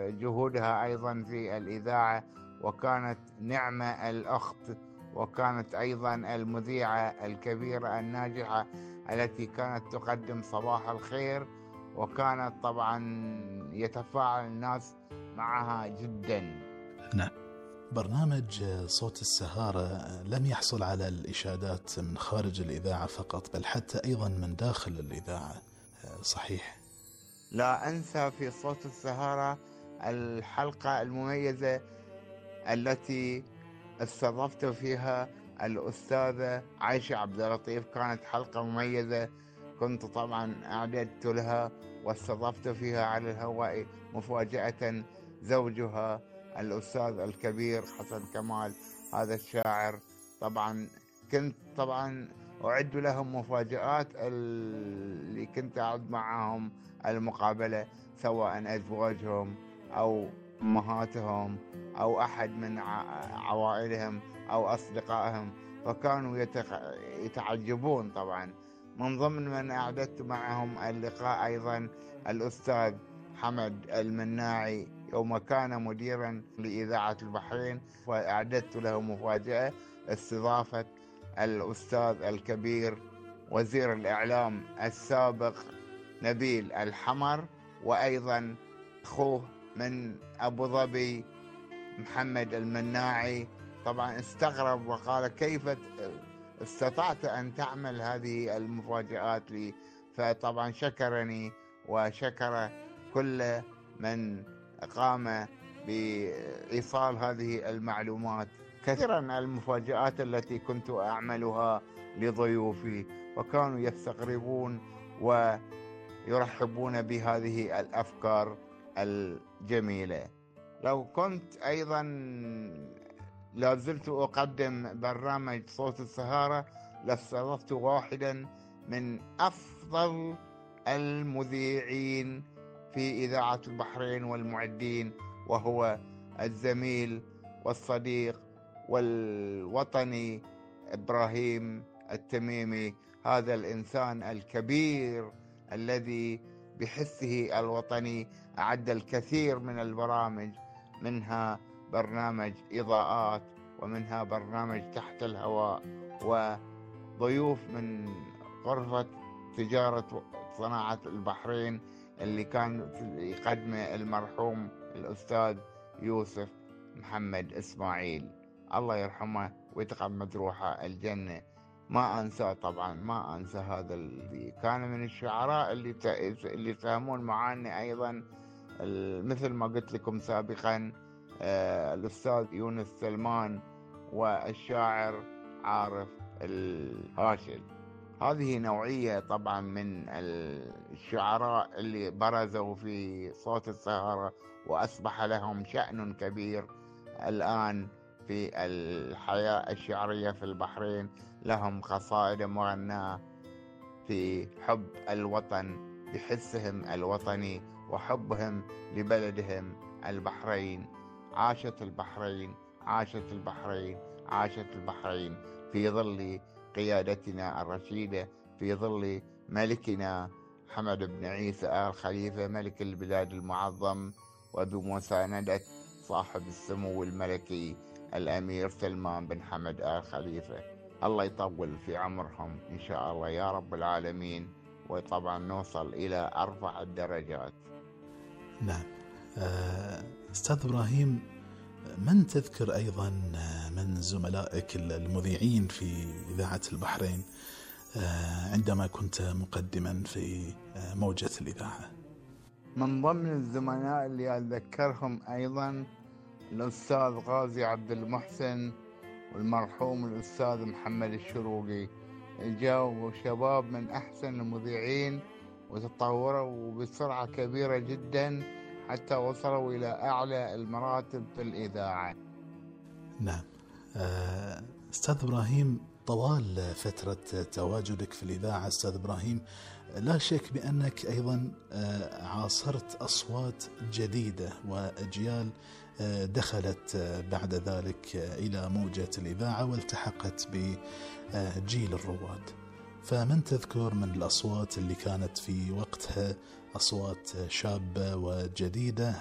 جهودها أيضا في الإذاعة، وكانت نعمة الأخت، وكانت أيضا المذيعة الكبيرة الناجحة التي كانت تقدم صباح الخير، وكانت طبعا يتفاعل الناس معها جدا. نعم. برنامج صوت السهارة لم يحصل على الإشادات من خارج الإذاعة فقط، بل حتى أيضا من داخل الإذاعة، صحيح؟ لا أنسى في صوت السهارة الحلقة المميزة التي استضفت فيها الأستاذة عائشة عبد اللطيف. كانت حلقة مميزة، كنت طبعا أعددت لها واستضفت فيها على الهواء مفاجأة زوجها الأستاذ الكبير حسن كمال، هذا الشاعر. طبعا كنت أعد لهم مفاجآت اللي كنت أعد معهم المقابلة، سواء أزواجهم أو أمهاتهم أو أحد من عوائلهم أو أصدقائهم، فكانوا يتعجبون. طبعا من ضمن من أعددت معهم اللقاء أيضا الأستاذ حمد المناعي، يوم كان مديرا لإذاعة البحرين، وأعددت له مفاجأة استضافة الأستاذ الكبير وزير الإعلام السابق نبيل الحمر، وأيضا أخوه من أبو ظبي محمد المناعي. طبعا استغرب وقال كيف استطعت أن تعمل هذه المفاجآت لي؟ فطبعا شكرني وشكر كل من قام بإيصال هذه المعلومات. كثيرا المفاجآت التي كنت أعملها لضيوفي، وكانوا يستغربون ويرحبون بهذه الأفكار الجميلة. لو كنت أيضا لازلت أقدم برنامج صوت السهارة، لاستضفت واحدا من أفضل المذيعين في إذاعة البحرين والمعدين، وهو الزميل والصديق والوطني إبراهيم التميمي. هذا الإنسان الكبير الذي بحسه الوطني أعد الكثير من البرامج، منها برنامج إضاءات، ومنها برنامج تحت الهواء، وضيوف من غرفة تجارة صناعة البحرين اللي كان يقدمه المرحوم الأستاذ يوسف محمد إسماعيل، الله يرحمه ويتغمد روحه الجنة. ما أنسى، طبعا ما أنسى هذا اللي كان من الشعراء اللي يساهمون معنا أيضا، مثل ما قلت لكم سابقا الأستاذ يونس سلمان والشاعر عارف الهاشل. هذه نوعية طبعا من الشعراء اللي برزوا في صوت السهرة وأصبح لهم شأن كبير الآن في الحياة الشعرية في البحرين. لهم قصائد مغناة في حب الوطن بحسهم الوطني وحبهم لبلدهم البحرين. عاشت البحرين، عاشت البحرين، عاشت البحرين في ظل قيادتنا الرشيدة، في ظل ملكنا حمد بن عيسى آل خليفة ملك البلاد المعظم، وبمساندة صاحب السمو الملكي الأمير سلمان بن حمد آل خليفة. الله يطول في عمرهم إن شاء الله يا رب العالمين، وطبعا نوصل إلى أرفع الدرجات. نعم. أستاذ إبراهيم، من تذكر أيضا من زملائك المذيعين في إذاعة البحرين عندما كنت مقدما في موجة الإذاعة؟ من ضمن الزملاء اللي أتذكرهم أيضا الأستاذ غازي عبد المحسن والمرحوم الأستاذ محمد الشروقي. جاءوا شباب من أحسن المذيعين وتطوروا بسرعة كبيرة جدا حتى وصلوا إلى أعلى المراتب في الإذاعة. نعم. أستاذ إبراهيم، طوال فترة تواجدك في الإذاعة أستاذ إبراهيم، لا شك بأنك أيضا عاصرت أصوات جديدة وأجيال دخلت بعد ذلك إلى موجة الإذاعة والتحقت بجيل الرواد. فمن تذكر من الأصوات اللي كانت في وقتها أصوات شابة وجديدة